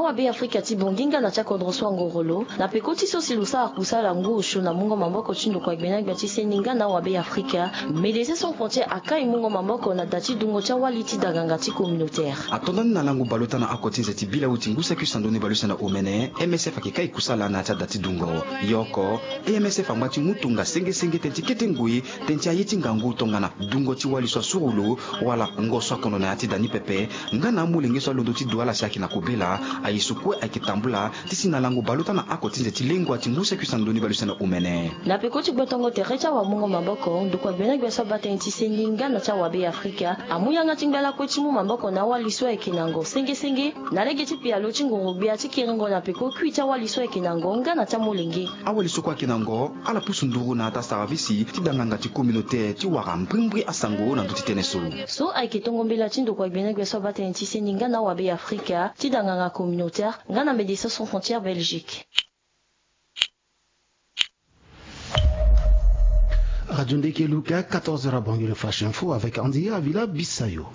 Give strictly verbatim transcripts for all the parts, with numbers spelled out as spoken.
Awabe Afrika ti Bangui nga na ti akodro so angoro lo na peko ti so si lo sara kusala ngu osio na mungo maboko ti ndokua gbena gbia ti seni nga na awabe Afrika. Médecins Sans Frontières akai mungo maboko na da ti dungo ti awali ti danganga ti communautaire. Ato ndani na lango baleota na oko ti nze ti bilewu ti ngu saki sando ni baleuse na omene, M S F ayeke kai kusala na ya ti ada ti dungo. Yoko, M S F angba ti mu tonga senge senge tënë ti kete ngoi tënë ti aye ti ngangu tongana dungo ti wali so asuru lo, wala ngo so akondo na ya ti da ni pepe, nga na amolenge so alondo ti du ala si ayeke na kobela. Aye so kue ayeke tambula ti si na lango baleota na oko ti nze ti lengua ti ngu saki sando ni baleuse na omene. Na peko ti gbotongo tere ti awamungo maboko, ndokua gbena gbia so abaa tënë ti seni nga na ti awabe Afrika amu yanga ti ngba lakue ti mu maboko na awali so ayeke na ngo senge senge na lege ti pialo ti ngoro-gbia ti kiringo na peko kui ti awali so ayeke na ngo nga na ti amolenge. Awali so kue ayeke na ngo ala pusu nduru na ata saravisi ti danganga ti communautaire ti wara mbrimbri asango na ndö ti tënë so. So ayeke tongo mbela ti ndokua gbena gbia so abaa tënë ti seni nga na awabe Afrika ti danganga communautaire nga na Médecins Sans Frontières Belgique. Radio Ndeke Luka, quatorze heures à Bangui, le Flash Info avec Andy Avila Bissayo.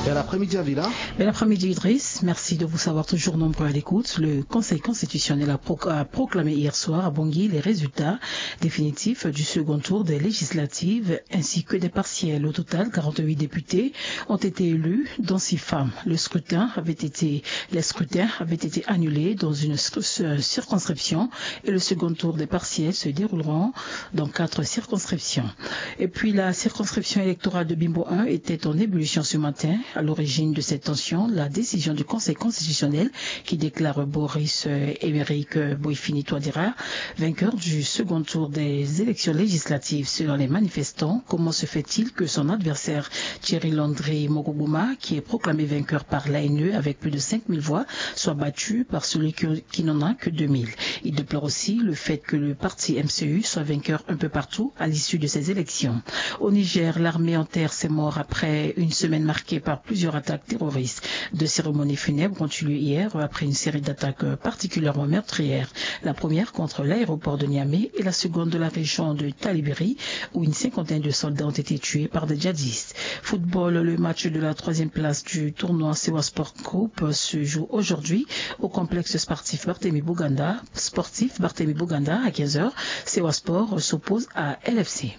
Bel après-midi, Avila. Bel après-midi, Idriss. Merci de vous savoir toujours nombreux à l'écoute. Le Conseil constitutionnel a, pro- a proclamé hier soir à Bangui les résultats définitifs du second tour des législatives ainsi que des partielles. Au total, quarante-huit députés ont été élus, dont six femmes. Le scrutin avait été, les scrutins avaient été annulés dans une cir- euh, circonscription et le second tour des partielles se dérouleront dans quatre circonscriptions. Et puis, la circonscription électorale de Bimbo un était en ébullition ce matin. À l'origine de cette tension, la décision du Conseil constitutionnel qui déclare Boris euh, Émeric euh, Boifini Touadéra vainqueur du second tour des élections législatives. Selon les manifestants, comment se fait-il que son adversaire Thierry Landry Mokogoma, qui est proclamé vainqueur par l'A N E avec plus de cinq mille voix, soit battu par celui qui, qui n'en a que deux mille ? Il déplore aussi le fait que le parti M C U soit vainqueur un peu partout à l'issue de ces élections. Au Niger, l'armée enterre ses morts après une semaine marquée par plusieurs attaques terroristes. Deux cérémonies funèbres ont eu lieu hier après une série d'attaques particulièrement meurtrières. La première contre l'aéroport de Niamey et la seconde de la région de Talibiri, où une cinquantaine de soldats ont été tués par des djihadistes. Football, le match de la troisième place du tournoi Sewa Sport Group se joue aujourd'hui au complexe sportif Barthélemy Boganda. Sportif Barthélemy Boganda à quinze heures. Sewa Sport s'oppose à L F C.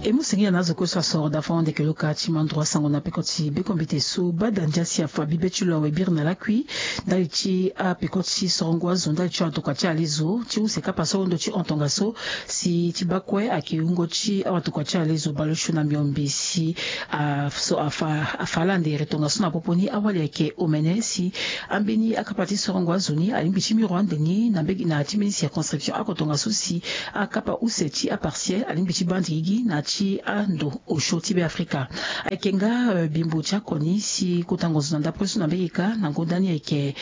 E mu singila na azo kue so asoro da fo ande ke lo ka ti mandro asango na peko ti bekombite so bada ndia si afa bibe ti lo awe biri na lakui ndali ti apeko ti sorongo azo ndali ti awatokua ti alezo ti use kapa so ndo ti hon tongaso si ti baa kue ayeke wungo ti awatokua ti alezo baleosio na miombe si a so afa afa ala ndere tongaso na popo ni awali ayeke omene si ambeni akapa ti sorongo azo ni alingbi ti miro ande ni na mbege na ti mbeni circonscription oko tongaso si akapa use ti apartiel alingbi ti baa ndigigi na ti ando osio ti be afrika. Ayeke nga bimbo ti akoni si kota ngonzo na ndapre so na mbege kâ na ngonda ni ayeke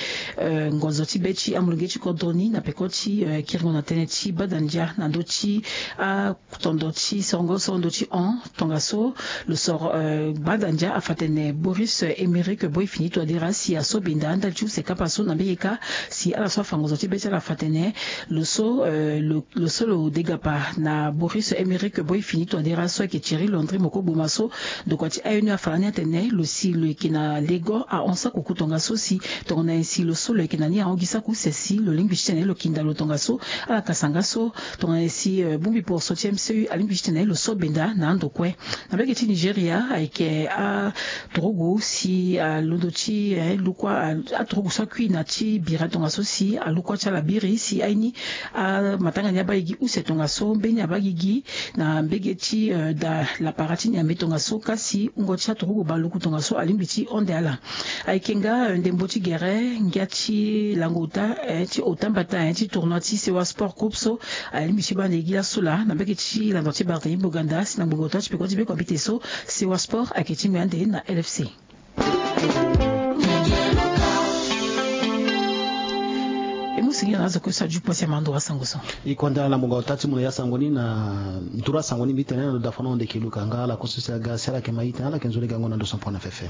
ngonzo ti be ti amolenge ti kodro ni na peko ti kiringo na tënë ti bada ndia na ndö ti a tondo ti sorongo so ndo ti hon tongaso lo soro bada ndia afa tene Boris Emerick Boy Fini Touadéra si aso benda ndali ti use kapa so na mbege kâ si ala so afa ngonzo ti be ti ala afa tene lo so lo so lo degapa na Boris Emerick Boy Fini Touadéra so ayeke Thierry Landry Mokogoma so ndokua ti A N E afa lani atene lo si lo yeke na lego ahon sako ku tongaso si tongana nyen si lo so lo yeke na ni ahon gi sako use si lo lingbi ti tene lo kinda lo tongaso ala kasa nga so tongana nyen si bongbi poroso ti M C U alingbi ti tene lo so benda na ando kue. Na mbege ti Nigeria ayeke aturugu si alondo ti lukua aturugu so akui na ti bira tongaso si alukua ti ala biri si aye ni amatanga ni abaa gi gi use tongaso mbeni abaa gi gi na mbege ti da lapara ti Niamey tongaso kasi wungo ti aturugu baluku tongaso alingbi ti honde ala. Ayeke nga ndembo ti gere ngia ti lango ota ti ota mbata ti tournoi ti Sewa Sport Group so alingbi ti baa na e gi laso laa na mbege ti lando ti Barthélemy Boganda si na ngbongo ota ti peko ti bekombite so Sewa Sport ayeke ti ngoi ande na L F C. E mu singila na azo kue so aju pasi amando asango so. E kue nda na ngbongo ota ti mu na ya sango ni na nduru asango ni mbi tene na ndo da fano ndeke luka nga ala kue so si aga si ala yeke ma itene ala yeke nzoni gango na ndo so pona fefe.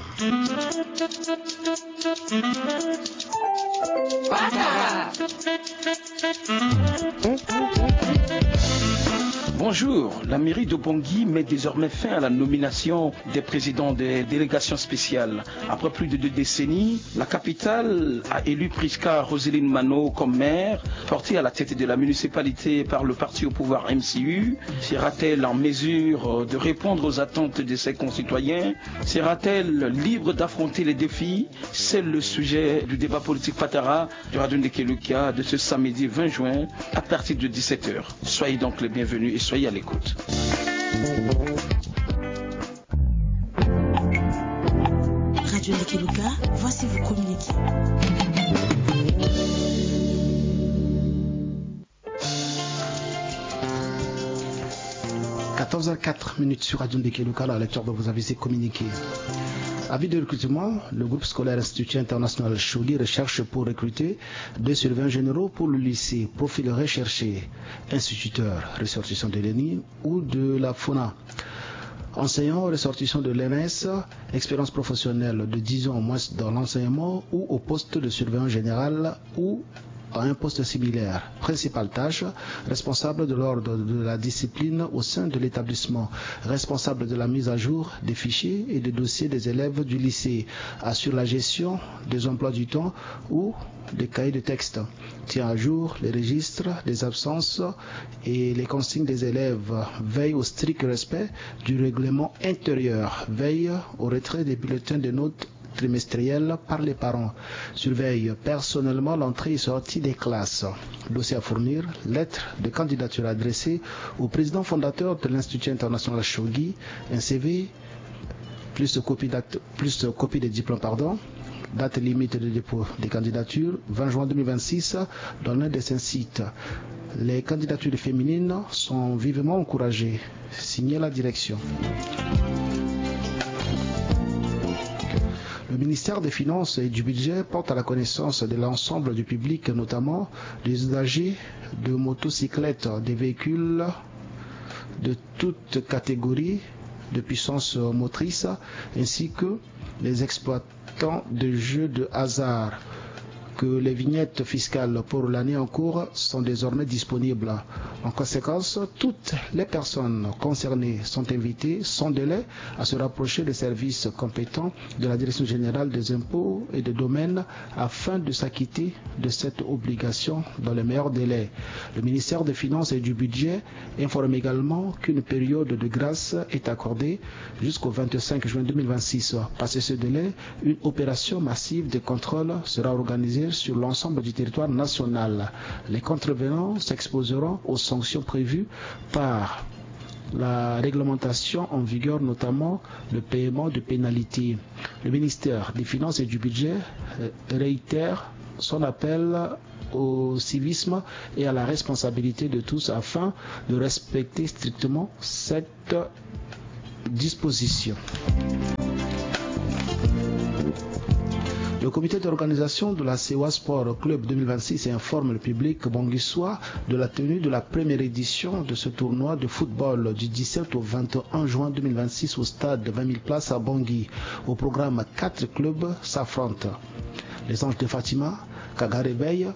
Bonjour. La mairie de Bangui met désormais fin à la nomination des présidents des délégations spéciales. Après plus de deux décennies, la capitale a élu Prisca Roseline Mano comme maire. Portée à la tête de la municipalité par le parti au pouvoir M C U, sera-t-elle en mesure de répondre aux attentes de ses concitoyens ? Sera-t-elle libre d'affronter les défis ? C'est le sujet du débat politique Patara du Radio Ndeke Luka de ce samedi vingt juin à partir de dix-sept heures. Soyez donc les bienvenus et soyez à l'écoute. Radio Ndeke Luka, voici vos communiqués. Quatorze heures quatre minutes sur Radio Ndeke Luka, la lecture de vos avis et communiqués. Avis de recrutement, le groupe scolaire Institut International Shogi recherche pour recruter deux surveillants généraux pour le lycée. Profil recherché, instituteur ressortissant de l'ENI ou de la FONA. Enseignant ressortissant de l'E N S, expérience professionnelle de dix ans au moins dans l'enseignement ou au poste de surveillant général ou à un poste similaire. Principale tâche, responsable de l'ordre de la discipline au sein de l'établissement, responsable de la mise à jour des fichiers et des dossiers des élèves du lycée, assure la gestion des emplois du temps ou des cahiers de texte, tient à jour les registres des absences et les consignes des élèves, veille au strict respect du règlement intérieur, veille au retrait des bulletins de notes trimestrielles par les parents, surveille personnellement l'entrée et sortie des classes. Dossier à fournir, lettre de candidature adressée au président fondateur de l'Institut international Shogi, un C V, plus copie, date, plus copie des diplômes, pardon. Date limite de dépôt des candidatures, vingt juin deux mille vingt-six, dans l'un de ces sites. Les candidatures féminines sont vivement encouragées. Signé la direction. Le ministère des Finances et du Budget porte à la connaissance de l'ensemble du public, notamment les usagers de motocyclettes, des véhicules de toute catégorie de puissance motrice, ainsi que les exploitants de jeux de hasard, que les vignettes fiscales pour l'année en cours sont désormais disponibles. En conséquence, toutes les personnes concernées sont invitées sans délai à se rapprocher des services compétents de la Direction générale des impôts et des domaines afin de s'acquitter de cette obligation dans les meilleurs délais. Le ministère des Finances et du Budget informe également qu'une période de grâce est accordée jusqu'au vingt-cinq juin deux mille vingt-six. Passé ce délai, une opération massive de contrôle sera organisée sur l'ensemble du territoire national. Les contrevenants s'exposeront aux sanctions prévues par la réglementation en vigueur, notamment le paiement de pénalités. Le ministère des Finances et du Budget, euh, réitère son appel au civisme et à la responsabilité de tous afin de respecter strictement cette disposition. Le comité d'organisation de la Sewa Sport Club deux mille vingt-six informe le public banguissois de la tenue de la première édition de ce tournoi de football du dix-sept au vingt et un juin deux mille vingt-six au stade vingt mille places à Bangui. Au programme, quatre clubs s'affrontent. Les Anges de Fatima, Kaga Réveil,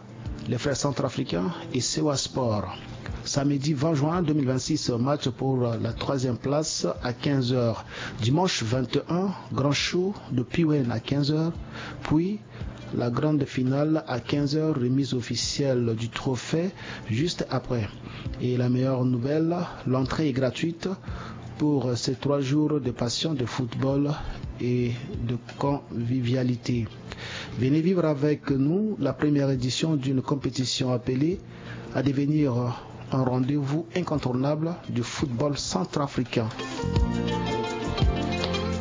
les Frères Centrafricains et Sewa Sport. Samedi vingt juin deux mille vingt-six, match pour la troisième place à quinze heures. Dimanche vingt et un, grand show de Piwen à quinze heures, puis la grande finale à quinze heures, remise officielle du trophée juste après. Et la meilleure nouvelle, l'entrée est gratuite pour ces trois jours de passion de football et de convivialité. Venez vivre avec nous la première édition d'une compétition appelée à devenir un rendez-vous incontournable du football centrafricain.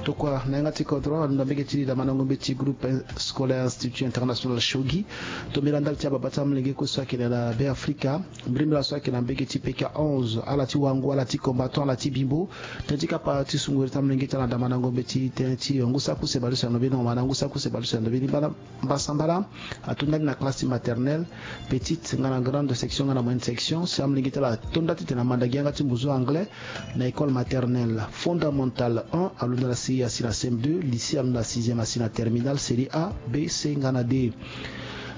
Tokua na yanga ti kodro, ando na mbege ti damandango mbeti groupe scolaire Institut International Shogi. Tombela ndali ti ababa ti amolenge kue so ayeke na Be Afrika. Mbirimbiri so ayeke na mbege ti P K onze, ala ti wango, ala ti combattant, ala ti bimbo. Tënë ti kapa ti sunguru ti amolenge ti ala na damandango mbeti tënë ti ngu saku se baleuse na ndo mbeni, na ngu saku se baleuse na ndo mbeni bana. Mbasambala ato ndali na classe ti maternelle, petite nga na grande section nga na moyenne section. Si amolenge ti ala ato nda titene amanda gi yanga ti mbuzu anglais na école maternelle, fondamentale un alondo na C I asi na C M deux, lycée alondo na sixième asi na terminale, série A, B, C nga na D.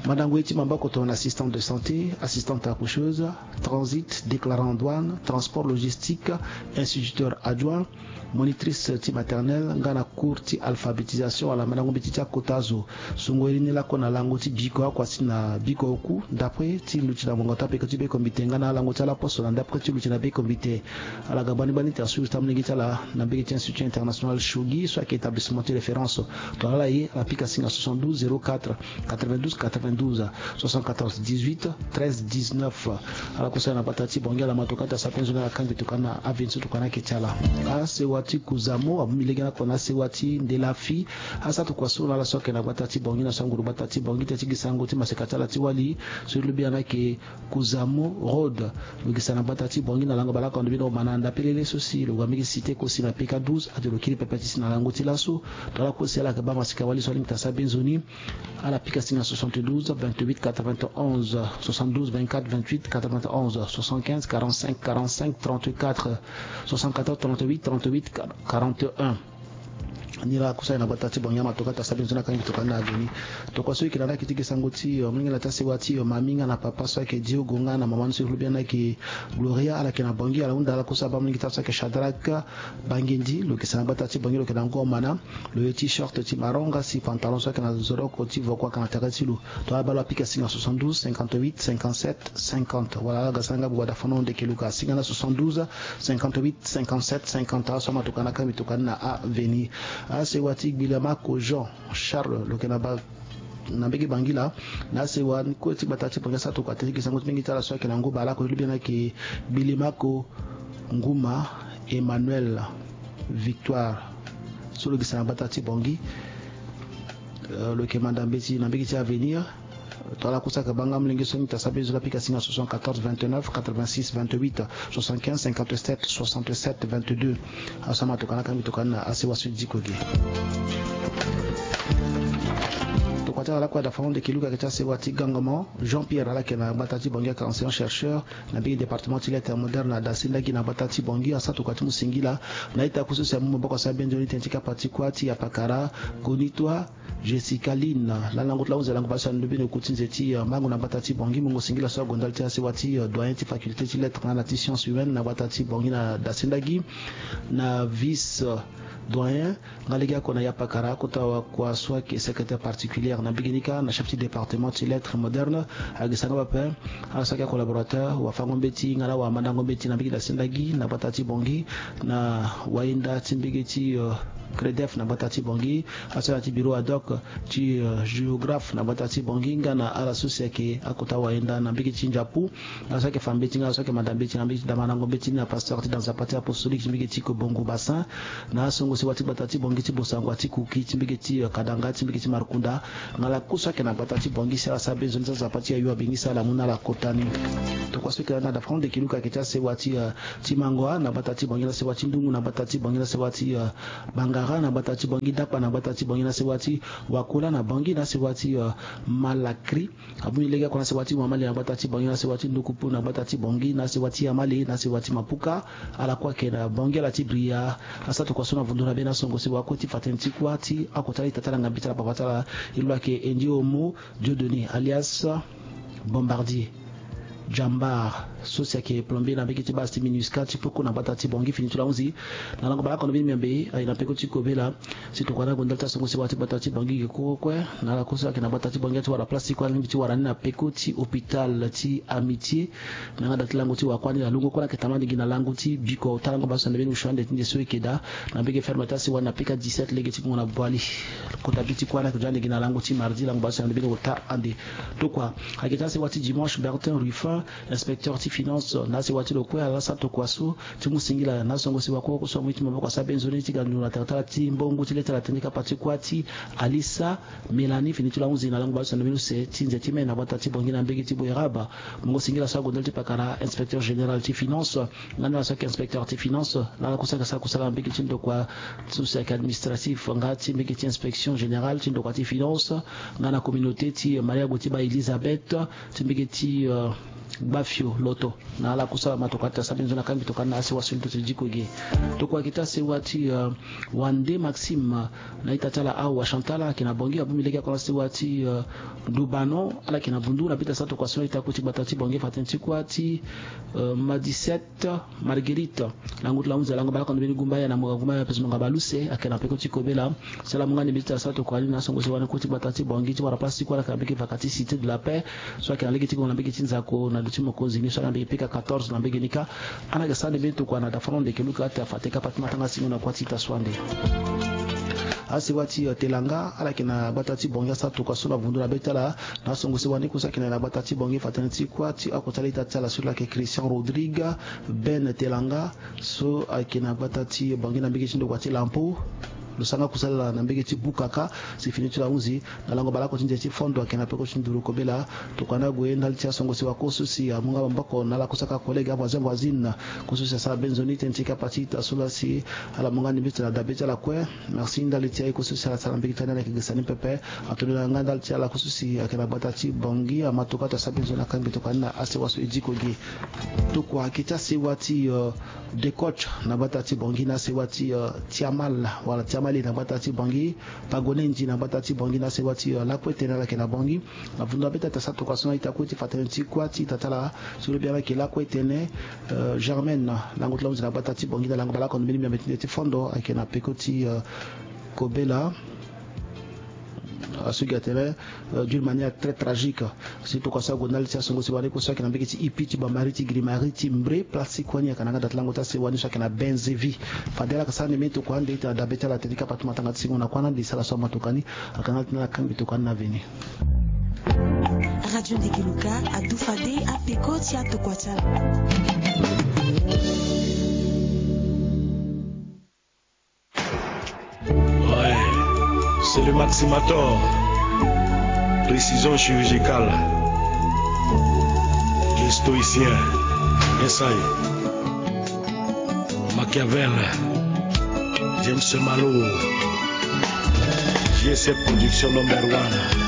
Mandango ye ti maboko tongana assistante de santé, assistante accoucheuse, transit, déclarant en douane, transport logistique, instituteur adjoint, monitrice ti maternelle nga na cours ti alphabétisation wala mandango mbeti ti akota zo. Songo ye ni lakue na lango ti biko akua si na biko oku ndapre ti luti na mongo ti apeko ti beko mbite nga na alango ti ala poso na ndapre ti luti na beko mbite. Ala ga bani bani ti asuivi ti amolenge ti ala na mbege ti Institut International Shogi so ayeke établissement ti référence. Tongana ala ye ala pika singa soixante-douze zéro quatre quatre-vingt-douze quatre-vingt-douze, soixante-quatorze dix-huit treize dix-neuf. Ala kusa na gbata ti Bangui, ala ma tokua ti asara pension na ala kangbi tokua na avenue so tokua na ayeke ti ala. Asewa ti Kuzamo abongbi lege na kua na asewa ti Ndelafi. Asara tokua so na ala so ayeke na gbata ti Bangui na so anguru gbata ti Bangui ti ti gi sango ti maseka ti ala ti wali so ti lobi ana ayeke Kuzamo Road. Lo gi sa na gbata ti Bangui na lango bale oko ando bino ma na anda pelele so si lo ga mbege cité kosi na P K douze ate lo kiri pepe ti si na lango ti laso. Tongana ala kosi ala yeke baa maseka wali so alingbi ti asara be nzoni. Ala pika singa soixante-douze vingt-huit quatre-vingt-onze, soixante-douze vingt-quatre vingt-huit quatre-vingt-onze, soixante-quinze quarante-cinq quarante-cinq trente-quatre, soixante-quatorze trente-huit trente-huit quarante-un. Ni la kusa na gbata ti Bangui ama tokua ti asara be nzoni akangi tokua ni na avenue. Tokua so e yeke na ni ayeke ti gi sango ti, euh, molenge na ti asewa ti, euh, mami nga na papa so ayeke Diogo nga na mama ni so e lobi ana ayeke Gloria, ala yeke na Bangui, ala hunda ala kusa abaa molenge ti ala so ayeke Shadrack Bangendi, lo yeke sa na gbata ti Bangui, lo yeke na ngomana. Lo ye ti short ti marron nga si pantalon so ayeke na zoroko ti voko ayeke na tere ti lo. Tongana abaa lo apika singa soixante-douze cinquante-huit cinquante-sept cinquante wala ala ga sara nga buba da fano ndeke luka singa na soixante-douze cinquante-huit cinquante-sept cinquante. Aso ama tokua na kangbi tokua ni na avenue. Asewa ti Gbilemako Jean Charles lo yeke na ba na mbege Bangui la. Na asewa ni kue ti gbata ti Bangui asara tokua ti gi sango ti mbenge ti ala so ayeke na Ngoba la ko ti lobi ana ayeke Gbilemako Nguma Emmanuel Victoire so lo gi sa na gbata ti Bangui. Euh, lo yeke manda mbeti na mbege ti avenir. Tongana ala kusa ayeke baa nga molenge so ni ti asara be zo la pika singa soixante-quatorze vingt-neuf quatre-vingt-six vingt-huit soixante-quinze cinquante-sept soixante-sept vingt-deux. Aso ama tokua na kangbi tokua ni na asewa so ti diko ge. Tokua ti ala lakue ada fango ndeke luka ayeke ti asewa ti Gangama Jean Pierre ala yeke na gbata ti Bangui ayeke enseignant chercheur na mbege département ti lettres modernes na dasendagi na gbata ti Bangui asara tokua ti mu singila na ita ku so si amu maboko asara be nzoni tënë ti kapa ti kuâ ti apakara Konitoa Jessica Line. Lalango ti lango zi alango bale so alondo bino ku ti nze ti, euh, mango na gbata ti Bangui. Mungo singila so ague ndali ti asewa ti, euh, doyen ti faculté ti lettres nga na ti sciences humaines na gbata ti Bangui na dasendagi na vice, euh, doyen nga lege oko na ya pakara akota wakua so ayeke secrétaire particulière na mbege ni kâ na chef ti département ti lettres modernes. Ayeke sara nga pepe ala so ayeke acollaborateur wafango mbeti nga na wamandango mbeti na mbege dasendagi na gbata ti Bangui na wayenda ti mbege ti, euh, CREDEF na gbata ti Bangui. Aso ayeke na ya ti bureau ad hoc ti, euh, géographe na gbata ti Bangui nga na ala so si ayeke akota wayenda na mbege ti Ndiapu. Ala so ayeke fa mbeti nga ala so ayeke manda mbeti na mbege ti damandango mbeti ni na pasteur ti da nzapa ti apostolique ti mbege ti Kobongo Bassin. Na asongo sewa ti gbata ti Bangui ti Bossangoa ti Kuki ti mbege ti, euh, Kadanga ti mbege ti Markunda. Nga ala ku so ayeke na gbata ti Bangui si ala sara be nzoni ti azapa ti ayo abengisa ala mu na ala kota ni. Tokua so ayeke na ni ada fango ndeke luka ayeke ti asewa ti, euh, ti Mangoa na gbata ti Bangui na sewa ti Ndungu na gbata ti Bangui na sewa ti, euh, Bangara na gbata ti Bangui, Dakpa na gbata ti Bangui na sewa ti Wakola na Bangui na sewa ti, euh, Malakri. Abongbi lege oko na sewa ti Wamale na gbata ti Bangui na sewa ti Ndukupu na gbata ti Bangui na sewa ti Yamale na sewa ti Mapuka. Ala kue ayeke na Bangui ala ti Bria. Asara tokua so na vundu na be na songo sewa kue ti fa tënë ti kuâ ti akota ala ita ti ala nga mbeti ala papa ti ala. E lo ayeke Endi Omo Dieudonné alias Bombardier Jambar so si ayeke plombier na mbege ti base ti MINUSCA ti peko na gbata ti Bangui. Fini ti lo ahunzi na lango bale oko na mbeni miambe aye na peko ti kobela. Si tokua na ague ndali ti asongo sewa ti gbata ti Bangui ge kue kue na ala ku so ayeke na gbata ti Bangui ti wara place ti kue alingbi ti wara ni na peko ti hôpital ti Amitié. Na yanga da ti lango ti wakuâ ni na lungo kue na ayeke tama ni gi na lango ti biko ota lango bale so na mbeni usio ande ti nde so e yeke daa na mbege ferme ti asewa ni na P K dix-sept lege ti ngongo na Boali. Kota bi ti kuâ ni ayeke zo ande gi na lango ti mardi lango bale so na mbeni ota ande. Tokua ayeke ti asewa ti dimanche Bertin Ruffin, inspecteur ti finance na asewa ti lo kue ala sara tokua so ti mu singila na asongo sewa kue kue so amu ye ti maboko asara be nzoni ti ga nzoni na tere ti ala ti mbongo ti le ti ala tënë ti kapa ti kuâ ti Alissa Mélanie. Fini ti lo ahunzi na lango bale so na mbeni use ti nze ti me na gbata ti Bangui na mbege ti Boeraba. Mungo singila so ague ndali ti pakara inspecteur général ti finance nga na ala so ayeke inspecteur ti finance na ala ku so ayeke sara kusala na mbege ti ndokua so si ayeke administratif nga ti mbege ti inspection générale ti ndokua ti finance nga na communauté ti Maria Gotiba Elisabeth ti mbege ti, euh, Gbafio Loto. Na ala kusala ma tokua ti asa mbi nzoni na kangbi tokua ni na asewa so ni to ti diko ge. Tokua gi ti asewa ti, euh, Wande Maxime, euh, na ita ti ala awa Chantal ayeke na Bangui, abongbi lege ako na asewa ti, euh, Ndubano, ala yeke na Bundu, na bita sa tokua so na ita kue ti gbata ti Bangui, fa tënë ti kua ti, euh, Madisette Marguerite. Lango ti la hunzi alango bale oko na mbeni gumba ya na mo ga gumba ya peso mo ga bale use, ayeke na peko ti kobela. Si ala mu nga ni mbeti ti asa tokua ni na asongo si wani kue ti gbata ti Bangui ti wara place ti kue ala yeke na mbege vaka ti Cité de la Paix. So ayeke na lege ti gongo na mbege ti nzako na ndo ti mokonzi ni so ala yeke na mbege pika quatorze na mbege ni kâ. Ala yeke sara ni mbeni tokua na dafa na ndo eke luka ate afa te kapa ti matanga singo na kua ti ita so ande. Asewa ti, euh, Telanga, ala yeke na gbata ti Bangui asara tokua so na vundu na be ti ala. Na asongo si wani kue so ayeke na gbata ti Bangui fa tënë ti kua ti oko ti ala ita ti ala so la yeke Christian Rodrigue Ben Telanga. So ayeke na gbata ti Bangui na mbege ti ndokua ti Lampo. Lo sara nga kusala na mbege ti Bukaka si fini ti lo ahunzi. Na lango bale oko ti nze ti fondo ayeke na peko ti nduru kobela. Tokua ni ague ndali ti asongo si wakue so si amu nga maboko na ala kue so ayeke akollègue, avoisin, voisine. Kue so si asara be nzoni tënë ti kapa ti ita so la si ala mu nga ni mbeti na dabe ti ala kue. Merci ndali ti aye kue so si ala sara na mbege ti ala ni ala yeke gesa ni pepe. Atoni na nga ndali ti ala kue so si ayeke na gbata ti Bangui ama tokua ti asara be nzoni na kangbi tokua ni na asewa so e diko ge. Tokua gi ti asewa ti, euh, Decoach na gbata ti Bangui na asewa ti, euh, Tiamal wala Tiamali na gbata ti Bangui, Pagonendi na gbata ti Bangui na asewa ti, euh, Lakuetene ala yeke na Bangui. Na vundu na be ti ata sa tokua so na ita kue ti fa tënë ti kua ti ita ti ala so lo bia na yeke Lakuetene, euh, Germaine, lango ti lo ahunzi na gbata ti Bangui na lango bale oko na mbeni miombe ti nze ti fondo ayeke na peko ti, euh, kobela. Aso gi atene, euh, d'une manière très tragique. Si tokua so ague ndali ti asongo si wani kue so ayeke na mbege ti Ipi ti Bambari ti Grimari ti Mbre, place ti kue ni ayeke na nga da ti lango ti asewa ni so ayeke na Benzevi. Fade ala yeke sara ni mbeni tokua ande ti na dabe ti ala tene ti kapa ti matanga ti singo na kuâ na ande e sara so ama tokua ni. Ayeke na ala ti na ala kangbi tokua ni na veni. Radio Ndeke Luka adu fade apeko ti atokua ti ala. Ouais, c'est le Maximator. Précision chirurgicale. Le stoïcien. S I. Machiavel. James Malo. J S F Production number one.